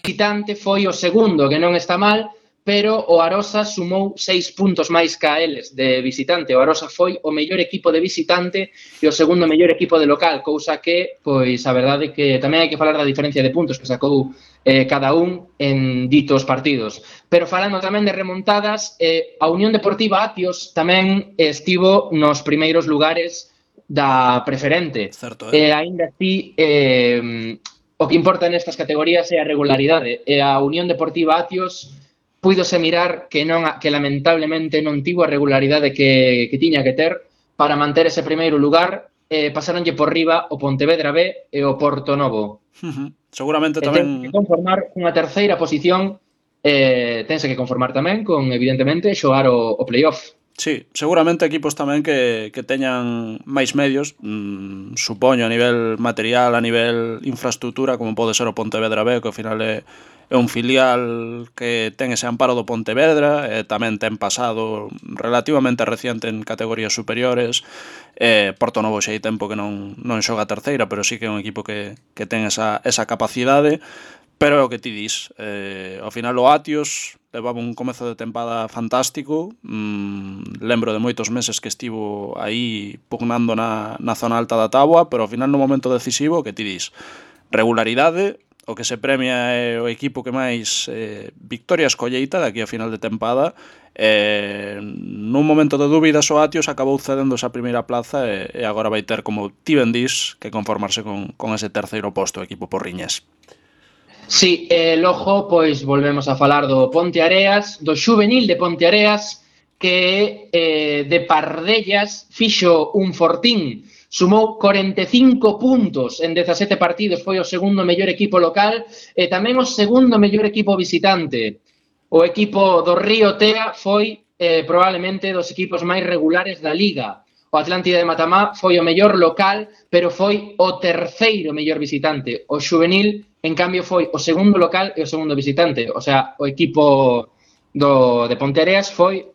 visitante foi o segundo, que non está mal, pero o Arosa sumou 6 puntos máis que a eles de visitante. O Arosa foi o mellor equipo de visitante e o segundo mellor equipo de local, cousa que, pois, a verdade que tamén hai que falar da diferencia de puntos que sacou cada un en ditos partidos. Pero falando tamén de remontadas, a Unión Deportiva Apios tamén estivo nos primeiros lugares da preferente. Certo, Aínda así, o que importa nestas categorías é a regularidade. E a Unión Deportiva Apios puidose mirar que lamentablemente non tivo a regularidade que tiña que ter para manter ese primeiro lugar. Pasaronlle por riba o Pontevedra B e o Porto Novo. Seguramente Tense tamén que conformar unha terceira posición, tense que conformar tamén con, evidentemente, xogar o playoff. Sí, seguramente equipos tamén que teñan máis medios, supoño, a nivel material, a nivel infraestructura, como pode ser o Pontevedra B, que ao final é un filial que ten ese amparo do Pontevedra, tamén ten pasado relativamente reciente en categorías superiores. Porto Novo xa hai tempo que non xoga a terceira, pero sí que é un equipo que ten esa capacidade. Pero é o que ti dis, ao final o Atios levaba un comezo de tempada fantástico. Lembro de moitos meses que estivo aí pugnando na zona alta da táboa, pero ao final no momento decisivo, o que ti dis, regularidade, o que se premia é o equipo que máis victorias colleita de aquí a final de tempada. Nun momento de dúbidas o Atios acabou cedendo esa primeira plaza e agora vai ter, como ti ben dis, que conformarse con ese terceiro posto o equipo porriñés. Sí, logo, pois, volvemos a falar do Ponteareas, do xuvenil de Ponteareas, que de pardellas fixo un fortín, sumou 45 puntos en 17 partidos, foi o segundo mellor equipo local e tamén o segundo mellor equipo visitante. O equipo do Río Tea foi probablemente dos equipos máis regulares da Liga. O Atlántida de Matamá foi o mellor local, pero foi o terceiro mellor visitante. O xuvenil, en cambio, foi o segundo local e o segundo visitante. O sea, o equipo de Ponteareas foi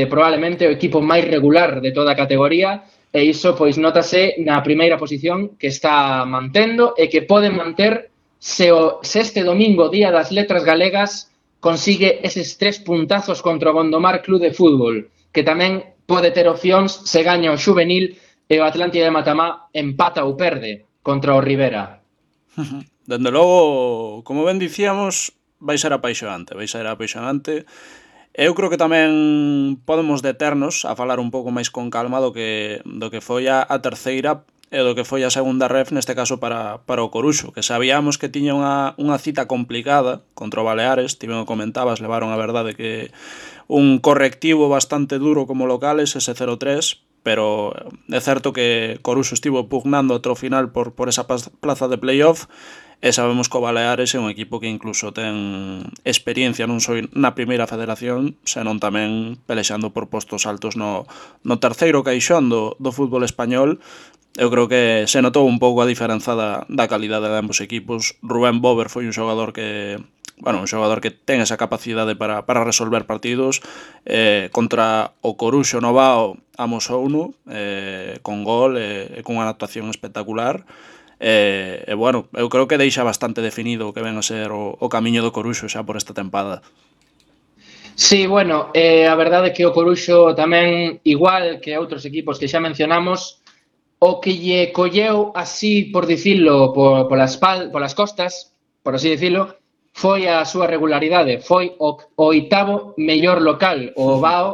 probablemente o equipo máis regular de toda a categoría, e iso pois notase na primeira posición que está mantendo e que pode manter se este domingo, Día das Letras Galegas, consigue eses 3 puntazos contra o Gondomar Club de Fútbol, que tamén pode ter opcións se gaña o xuvenil e o Atlántida de Matamá empata ou perde contra o Rivera. Dende logo, como ben dicíamos, vai ser apaixonante. Eu creo que tamén podemos deternos a falar un pouco máis con calma do que foi a terceira e do que foi a segunda ref, neste caso para o Coruxo, que sabíamos que tiña unha cita complicada contra o Baleares. Ti ben o comentabas, levaron a verdade que un correctivo bastante duro como locales, ese 0-3, pero é certo que Coruxo estivo pugnando ata o final por esa plaza de playoff, e sabemos que o Baleares é un equipo que incluso ten experiencia non só na primeira federación, senón tamén pelexando por postos altos no terceiro caixón do fútbol español. Eu creo que se notou un pouco a diferenza da calidade de ambos equipos. Rubén Bober foi un xogador que ten esa capacidade para resolver partidos. Contra o Coruxo Novao amosouno con gol e con unha actuación espectacular. Eu creo que deixa bastante definido o que ven a ser o camiño do Coruxo xa por esta tempada. Sí, bueno, a verdade é que o Coruxo tamén, igual que outros equipos que xa mencionamos, o que lle colleu así, por dicilo, polas costas, por así dicilo, foi a súa regularidade. Foi o oitavo mellor local. O Bao